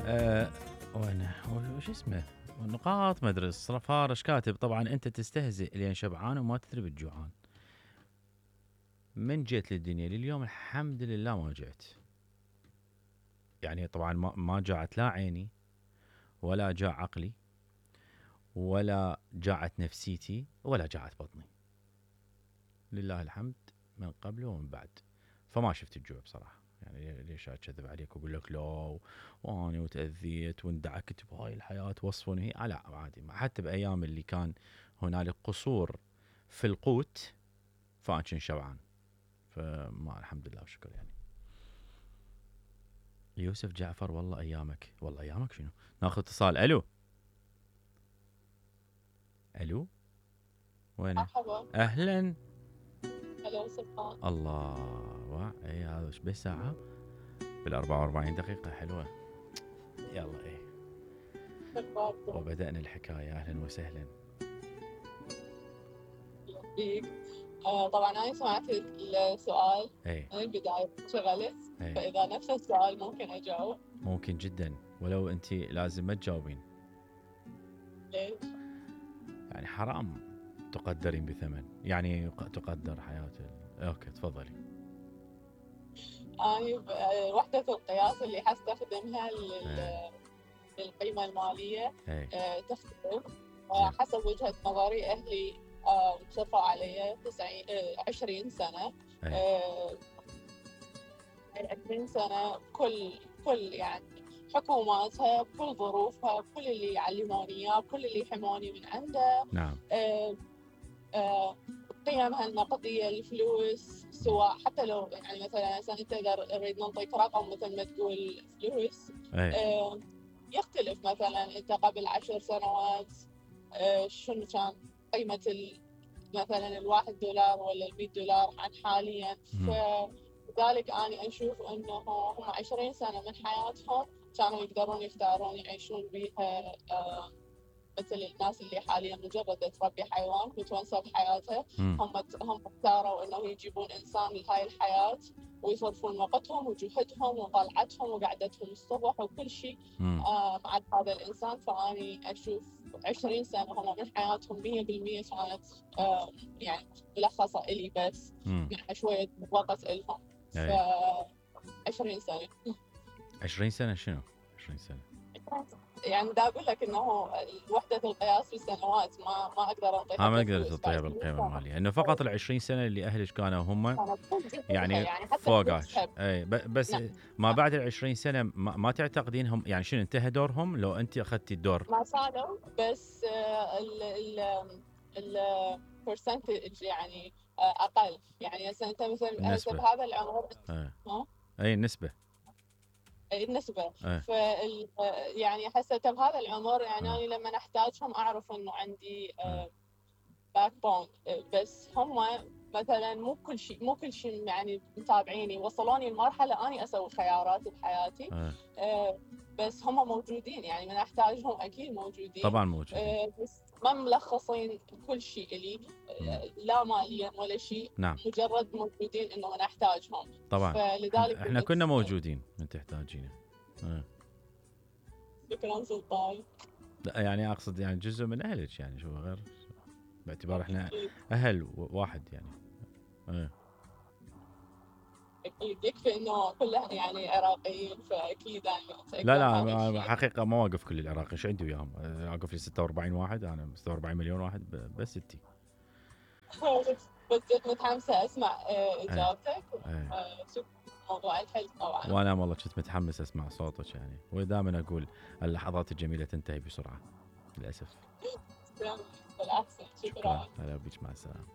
أه وين وش اسمه نقاط ما ادري فارش كاتب طبعا انت تستهزئ لين شبعان وما تدري بالجوعان. من جيت للدنيا لليوم الحمد لله ما جعت. يعني طبعا ما جاعت لا عيني ولا جاع عقلي ولا جاعت نفسيتي ولا جاعت بطني. لله الحمد من قبل ومن بعد. فما شفت الجوع بصراحة. يعني ليش اكذب عليك واقول لك لا واني وتاذيت واندعكت بهاي الحياه وصفوني لا عادي. حتى بايام اللي كان هنالك قصور في القوت فانا كنت شبعان. فما الحمد لله وشكر يعني. يوسف جعفر والله ايامك. والله ايامك شنو؟ ناخذ اتصال. الو الو وين؟ مرحبا. اهلا. هلا سلطان. الله اي هذا ايش بس ساعه بال 44 دقيقه حلوه. يلا ايه وبدأنا الحكاية. أهلا وسهلا بيك. طبعا أنا سمعت السؤال من البداية شغلت. فإذا نفس السؤال ممكن أجاوب؟ ممكن جدا ولو أنت لازم ما تجاوبين. ليش؟ يعني حرام تقدرين بثمن. يعني تقدر حياته. أوكي تفضلي. وحدة القياس اللي حستخدمها للقيمة المالية تختلف حسب وجهة نظري. أهلي شرفوا علي 20 سنة. 20 سنة كل يعني حكوماتها بكل ظروفها بكل اللي يعلموني اياه بكل اللي يحموني من عنده. نعم. قيمها النقدية الفلوس سواء حتى لو يعني مثلا انت نريد نعطيك رقم مثل ما تقول فلوس يختلف. مثلا انت قبل 10 سنوات شنو كان قيمة مثلا $1 ولا $100 عن حاليا. فلذلك أنا أشوف أنه هم 20 سنة من حياتهم كانوا يقدرون يختارون يعيشون بيها مثل الناس اللي حاليا مجرد تربي حيوان متونسة بحياتها. هم اختاروا أنه يجيبون إنسان لهاي الحياة ويصرفون وقتهم وجهدهم وطلعتهم وقعدتهم الصبح وكل شيء مع هذا الإنسان. فأني أشوف 20 سنة هم من حياتهم 100% كانت يعني ملخصة إلي بس مع شوية وقت إلهم. 20 سنة. 20 سنة شنو؟ 20 سنة يعني دا أقول لك إنه وحدة القياس بالسنوات ما أقدر أعطيها. ما أقدر تعطيها بالقيمة المالية. إنه فقط 20 سنة اللي أهلك كانوا هم يعني فوقك. أي بس ما بعد 20 سنة ما تعتقدين هم يعني شنو انتهى دورهم لو أنت أخذتي الدور؟ ما صاروا بس ال percentage يعني أقل. يعني أنت مثلا بهذا العمر أي النسبة. النسبة. يعني حسيت بهذا العمر يعني أنا لما أحتاجهم أعرف إنه عندي باك بون. بس هم مثلا مو كل شيء يعني متابعيني وصلوني لمرحلة أنا أسوي خيارات بحياتي. بس هم موجودين يعني من أحتاجهم أكيد موجودين. طبعا موجودين. بس ما ملخصين كل شيء لي لا ماليا ولا شيء. نعم. مجرد موجودين إنه من أحتاجهم. طبعا فلذلك احنا كنا موجودين من تحتاجينه. شكرا سلطان. لا يعني اقصد يعني جزء من اهلك يعني شو غير باعتبار احنا اهل واحد يعني. اكيد يكفي انه كلها يعني عراقيين فاكيد انا لا حقيقه ما واقف كل العراق. ايش عندي وياهم؟ واقف لي 46 واحد. انا 46 مليون واحد بس 60. بس كنت متحمسه اسمع اجابتك. شوف موضوع الحلم طبعا. وانا والله كنت متحمس اسمع صوتك يعني. ودائما اقول اللحظات الجميله تنتهي بسرعه للاسف. بالعكس. شكرا. هلا بك. مع السلامه.